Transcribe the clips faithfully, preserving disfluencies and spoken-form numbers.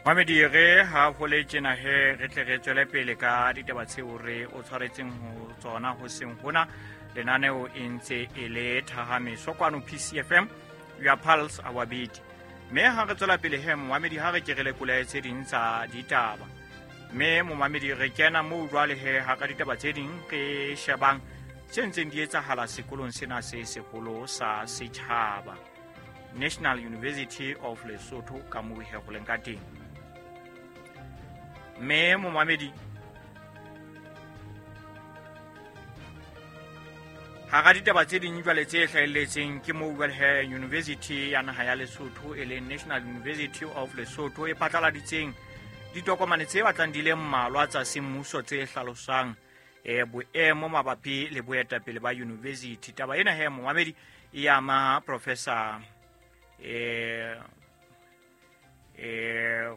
Mamedi re ha ho le tjena he re tle re tswele pele ka ditaba tseo re o tshwaretseng ho tsona ho seng hona lenaneo e ntse e le Thahamiso kwano P C F M, your pulse our beat. Mme ha re tswela pele he momamedi ha re ke re lekola tse ding tsa ditaba. Mme momamedi re kena moo jwale he ha ka ditaba tse ding re shebang tse ntseng di etsahala sekolong sena se seholo sa setjhaba, National University of Lesotho ka moo he ho leng ka teng. Mme momamedi hara ditaba tse ding jwale tse hlahelletseng ke moo jwale he University ya naha ya Lesotho e leng National University of Lesotho e phatlaladitseng ditokomane tse batlang di le mmalwa tsa semmuso tse hlalosang e boemo mabapi le boetapele ba university. Taba ena he momamedi e ama Professor eh eh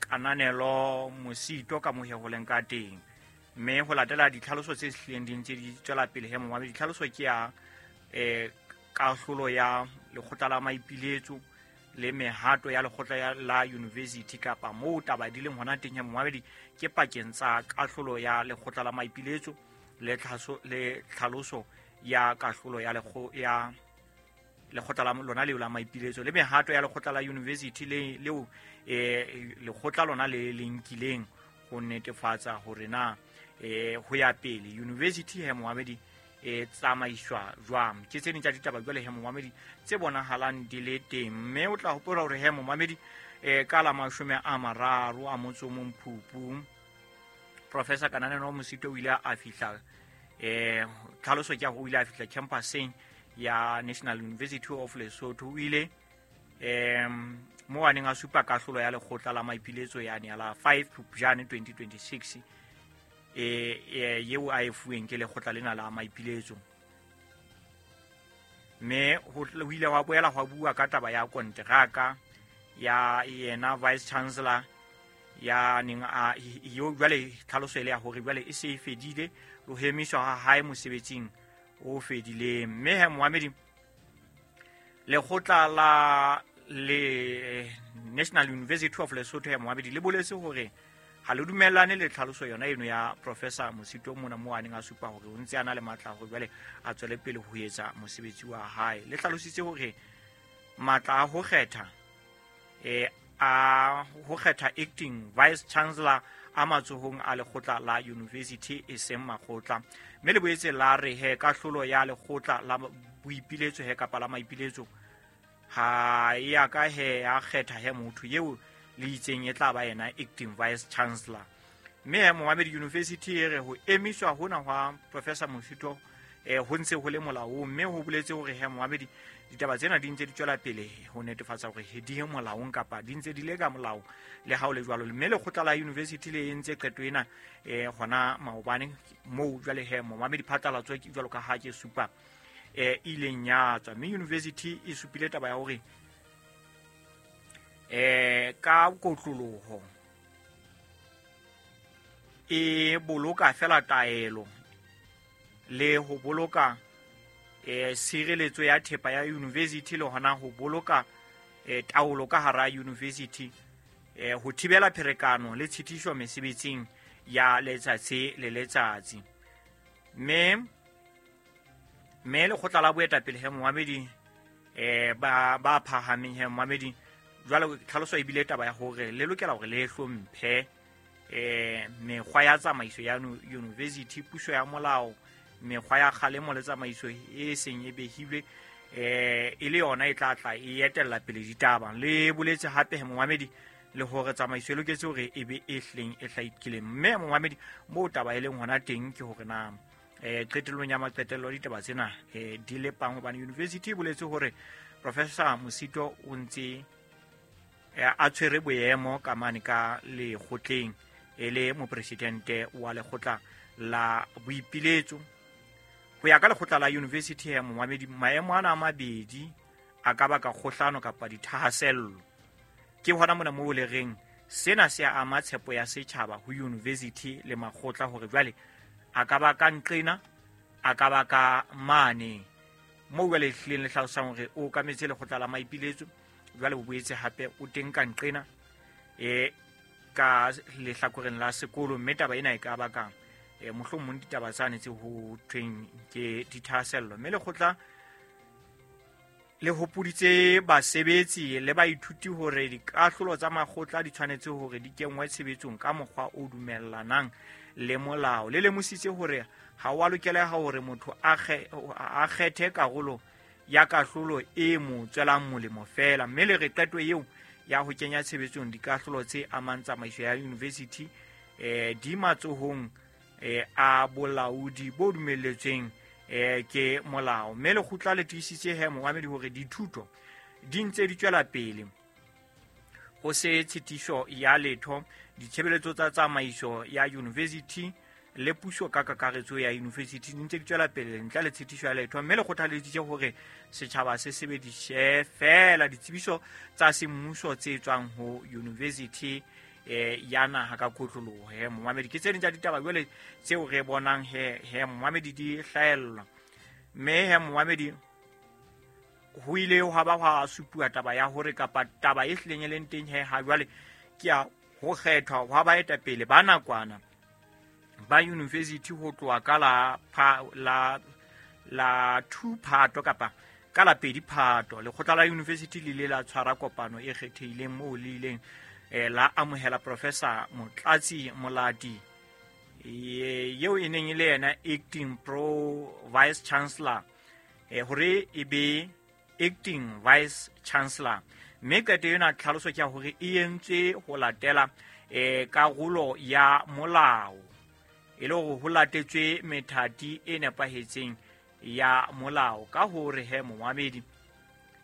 Kananelo Mosito ka mohe ho leng ka teng. Mme ho latela ditlhaloso tse hlileng di ntse di tswela pele he momamedi, ditlhaloso ke ya eh kahlolo ya lekgotla la maipiletso le mehato ya lekgotla la university kapa moo taba di leng hona teng he momamedi ke pakeng tsa kahlolo ya lekgotla la maipiletso le tlhaso le tlhaloso ya kahlolo ya lekgo ya lekgotla la lona leo la maipiletso le mehato ya lekgotla la university le leo eh lekgotla lona le le nkileng ho netefatsa hore na eh ho ya pele university he momamedi e tsamaiswa jwang. Ke tse ding tsa ditaba jwale he momamedi tse bonahalang di le teng. Mme o tla hopola hore he momamedi eh ka la mashome a mararo a motso o mong Phupu, Professor Kananelo Mosito o ile a fihla eh tlhaloso ke o ile a fihla campuseng ya National University of Lesotho. O ile em mo a neng a supa kahlolo ya lekgotla la maipiletso yane ya la five Phupjane twenty twenty-six e yeo a e fuweng ke lekgotla lena la maipiletso. Mme ho ile wa boela hwa bua ka taba ya konteraka ya yena Vice Chancellor ya neng a yo jwale tlhaloso ile ya hore jwale e se e fedile le ho emiswa ha hae mosebetsing o fedileng. Mme he momamedi lekgotla la le National University of Lesotho ya momamedi le boletse hore ha le dumellane le tlhaloso yona eno ya Professor Mosito mona mo a neng a supa hore o ntse a na le matla hore jwale a tswele pele ho etsa mosebetsi wa hae. Le hlalositse hore matla a ho kgetha eh a ho kgetha acting vice chancellor a matsohong a lekgotla la university e seng makgotla. Mme le boetse la re he kahlolo ya lekgotla la boipiletso he kapa la maipiletso ha e ya ka he ya kgetha he motho eo le itseng e tla ba yena acting vice chancellor. Mme he momamedi university e re ho emiswa hona hwa Professor Mosito eh ho ntse ho le molaong. Mme ho boletse hore he momamedi ditaba tsena di ntse di tswela pele ho netefatsa hore he di molaong kapa di ntse di le ka molao le ha o le jwalo. Mme lekgotla la university le entse qeto ena eh hona maobane moo jwale he momamedi phatlalatso ke jwalo ka ha ke supa eh ileng ya tswa. Mme university e supile taba ya hore eh ka kotloloho e boloka fela taelo le ho boloka eh sireletso ya thepa ya university le hona ho boloka eh taolo ka hara university eh ho thibela pherekano le tshitiso mesebetsing ya letsatsi le letsatsi. Mme mme lekgotla la boetapele he momamedi eh ba ba phahameng he momamedi jwale tlhaloso e bile taba ya hore le lokela hore le hlomphe eh mekgwa ya tsamaiso ya university, puso ya molao, mekgwa ya kgalemo le tsamaiso e seng e behilwe eh e le yona e tla tla e etella pele ditaba. Le boletse hape he momamedi le hore tsamaiso e loketse hore e be e hleng e hlakileng. Mme momamedi moo taba e leng hona teng ke hore na eh qetellong ya maqetello ditaba tsena eh di lepang hobane university e boletse hore Professor Mosito o ntse a tshwere boemo ka mane ka lekgotleng e le mopresidente wa lekgotla la boipiletso. Ho ya ka lekgotla la university ya momamedi maemo ana a mabedi a ka baka kgohlano kapa dithahasello. Ke hona mona moo le reng sena se ama tshepo ya setjhaba ho university le makgotla hore jwale a ka ba ka nqena a ka ba ka mane moo jwale hlileng le hlalosang hore o okametse lekgotla la maipiletso jwale o boetse hape o teng ka nqena e ka lehlakoreng la sekolo, mme taba ena e ka baka e mohlomong ditaba tsane tse ho thweng ke dithahasello. Mme lekgotla le hopoditse basebetsi le baithuti hore dikahlolo tsa makgotla di tshwanetse hore di kenngwe tshebetsong ka mokgwa o dumellanang le molao. Le lemositse hore ha wa lokela hore motho a kgethe karolo ya kahlolo e mo tswelang molemo fela, mme le re qeto eo ya ho kenya tshebetsong dikahlolo tse amang tsamaiso ya university eh di matsohong eh a bolaodi bo dumelletsweng eh ke molao. Mme lekgotla le tiisitse he momamedi hore dithuto di ntse di tswela pele ho se tshitiso ya letho ditshebeletso tsa tsamaiso ya university le puso ka kakaretso ya university di ntse di tswela pele ntle le tshitiso ya letho. Mme le kgothaleditse hore setjhaba se sebedise fela ditsebiso tsa semmuso tse tswang ho university eh ya naha ka kotloloho. He momamedi, ke tse ding tsa ditaba jwale tseo re bonang he he momamedi di hlahella. Mme he momamedi, ho ile hwa ba hwa supuwa taba ya hore kapa taba e hlileng e leng teng he ha jwale ke ya ho kgethwa hwa baetapele ba nakwana ba university ho tloha ka la la la two Phato kapa ka la pedi Phato. Lekgotla la university le ile la tshwara kopano e kgethehileng moo le ileng eh la amohela Professor Motlatsi Molati eo e neng e le yena acting pro vice chancellor eh hore e be acting vice chancellor. Mme qeto ena tlhaloso ke ya hore e entswe ho latela eh karolo ya molao, e le hore ho latetswe methati e nepahetseng ya molao. Ka hore he momamedi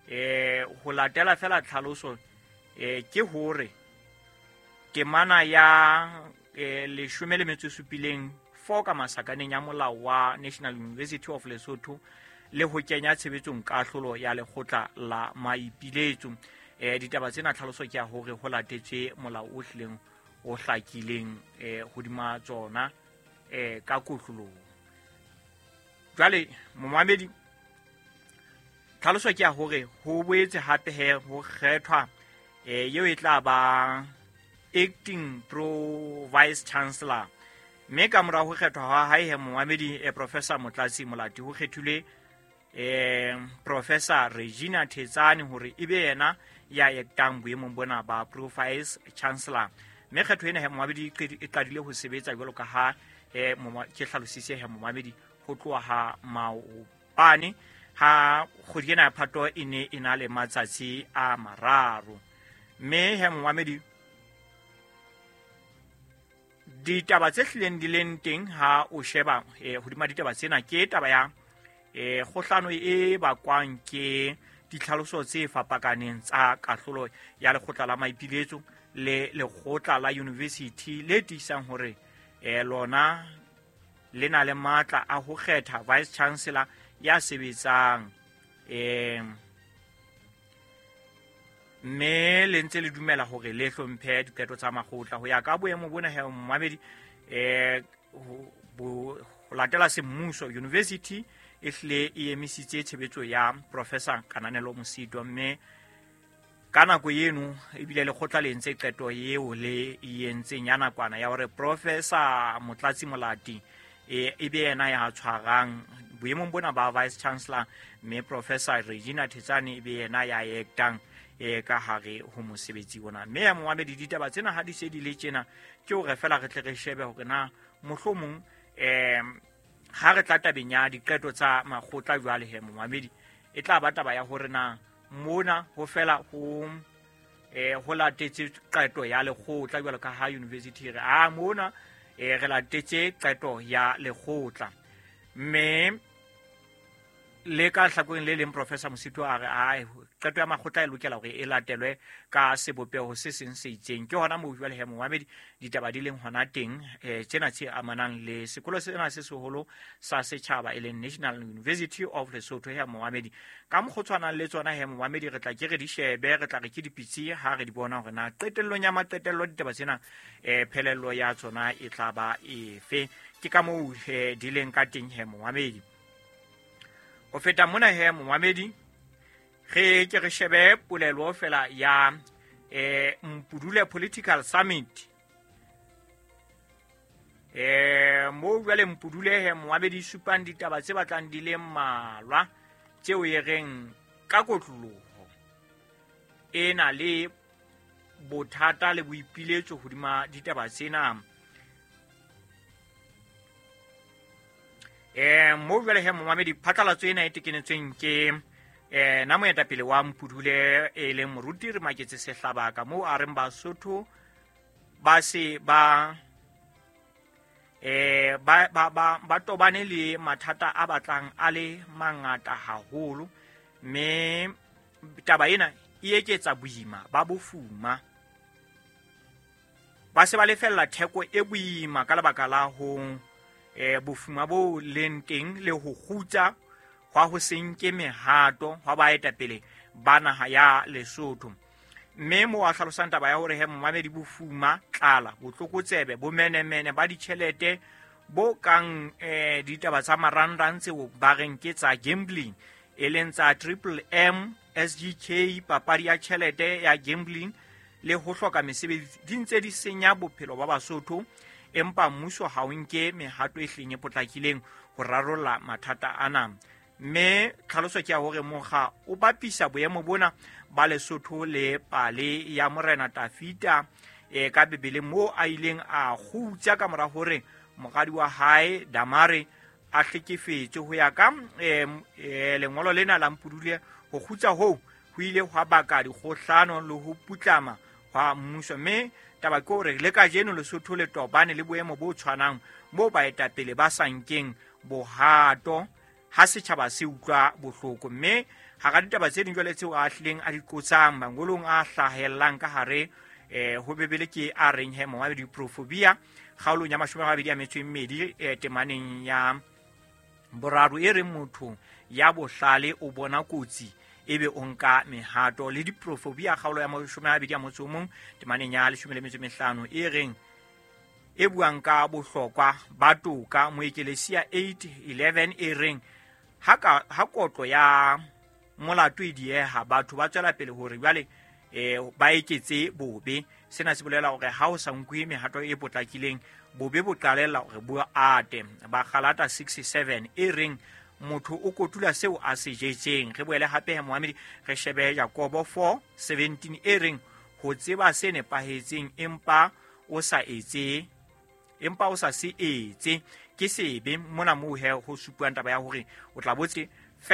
eh ho latela fela tlhaloso eh ke hore temana ya eh leshome le metso e supileng four ka masakaneng ya molao wa National University of Lesotho le ho kenya tshebetsong kahlolo ya lekgotla la maipiletso. Eh ditaba tsena tlhaloso ke ya hore ho latetswe molao o hlileng o hlakileng eh hodima tsona eh ka kotloloho. Jwale momamedi, tlhaloso ke ya hore ho boetse hape he ho kgethwa eh eo e tla ba acting pro vice chancellor. Mme ka mora ho kgethwa ha hae he momamedi eh, Professor Motlatsi Molati ho kgethilwe eh Professor Regina Thetsane hore ebe yena ya ektang boemong bona ba pro vice chancellor. Mme kgetho ena he momamedi e qadile ho sebetsa jwalo ka ha eh ke hlalositse he momamedi ho tloha ha maobane ha kgwedi ena ya Phato e ne e na le matsatsi a mararo. Mme he momamedi, ditaba tse hlileng di leng teng ha o sheba eh hodima ditaba tsena ke taba ya eh kgohlano e bakwang ke ditlhaloso tse fapakaneng tsa kahlolo ya lekgotla la maipiletso le lekgotla la university le tiisang hore eh lona le na le matla a ho kgetha vice chancellor ya sebetsang eh mme le ntse le dumela hore le hlomphe diqeto tsa makgotla ho ya ka boemo bona he momamedi eh ho latela semmuso university e hlile e emisitse tshebetso ya Professor Kananelo Mosito. Mme ka nako eno ebile lekgotla le entse qeto eo le e entseng ya nakwana ya hore Professor Motlatsi Molati e ebe yena ya tshwarang boemong bona ba vice chancellor, mme Professor Regina Thetsane ebe yena ya ektang e ka hare ho mosebetsi ona. Mme ya momamedi, ditaba tsena ha di se di le tjena ke hore fela re tle re shebe hore na mohlomong eh ha re tla tabeng ya diqeto tsa makgotla jwale he momamedi e tla ba taba ya hore na mona ho fela ho eh ho latetse qeto ya lekgotla jwalo ka ha university re a mona eh re latetse qeto ya lekgotla. Mme le ka hlakoreng le leng Professor Mosito a re ai qeto ya makgotla e lokela hore e latelwe ka sebopeho se seng se itseng. Ke hona moo jwale he momamedi ditaba di leng hona teng eh tsena tse amanang le sekolo sena se seholo sa setjhaba e leng National University of Lesotho he momamedi. Ka mokgwa tshwanang le tsona he momamedi re tla ke re di shebe, re tla re ke dipitsi ha re di bona hore na qetellong ya maqetello ditaba tsena eh phelello ya tsona e tla ba efe. Ke ka moo di leng ka teng he momamedi. Ho feta mona he momamedi, re ke re shebe polelo fela ya eh Mpudule Political Summit eh mo jwale Mpudule he moabedi supang ditaba tse batlang di le mmalwa tseo e reng ka kotloloho e na le bothata le boipiletso hodima ditaba tsena. Eh mo jwale he momamedi phatlalatso ena e tekenetsweng ke eh na moetapele wa Mpudule e leng moruti re Maketse Sehlabaka mo a reng Basotho ba se ba eh ba ba ba ba tobane le mathata a batlang a le mangata haholo, mme taba ena e eketsa boima ba bofuma. Ba se ba lefella theko e boima ka lebaka la ho eh bofuma bo leng teng le ho kgutsa hwa ho se nke mehato hwa baetapele ba naha ya Lesotho. Mme mo a hlalosang taba ya hore he momamedi bofuma, tlala, botlokotsebe, bomenemene ba ditjhelete bo kang eh ditaba tsa marangrang tseo ba reng ke tsa gambling, e leng tsa Triple M, S G K, papadi ya tjhelete ya gambling le ho hloka mesebetsi di ntse di senya bophelo ba Basotho, empa mmuso ha o nke mehato e hleng e potlakileng ho rarolla mathata ana. Mme tlhaloso ke ya hore mokga o bapisa boemo bona ba Lesotho le pale ya Morena Tafita e ka Bibeleng moo a ileng a kgutsa ka mora hore moradi wa hae Damare a hlekefetswe. Ho ya ka e, e, lengolo lena la Mpudule, ho kgutsa hoo ho ile hwa baka dikgohlano le ho putlama hwa mmuso. Mme taba ke hore le kajeno Lesotho le tobane le boemo bo tshwanang moo baetapele ba sa nkeng bohato ha setjhaba se utlwa bohloko. Mme hara ditaba tse ding jwale tseo a hlileng a di qotsang mangolong a hlahellang ka hare eh ho Bibele ke a reng he momamedi Proverbia kgaolong ya mashome a mabedi a metso e mmedi eh, temaneng ya boraro e reng motho ya bohlale o bona kotsi ebe o nka mehato, le diprofobia kgaolo ya mashome a mabedi a motso o mong temaneng ya leshome le metso e mehlano e reng e buang ka bohlokwa ba toka. Moekelesia eight eleven e reng ha ka ha kotlo ya molato e dieha batho ba tswela pele hore jwale eh ba eketse bobe. Sena se bolela hore ha o sa nkwe mehato e potlakileng bobe bo qalella hore bo ate. Ba Galata six seven e reng motho o kotula seo a se jetseng. Re boele hape he moamedi re shebe Jakobo four seventeen e reng ho tseba se nepahetseng empa o sa etse empa o sa se etse ke sebe. Mona moo he ho supuang taba ya hore o tla botse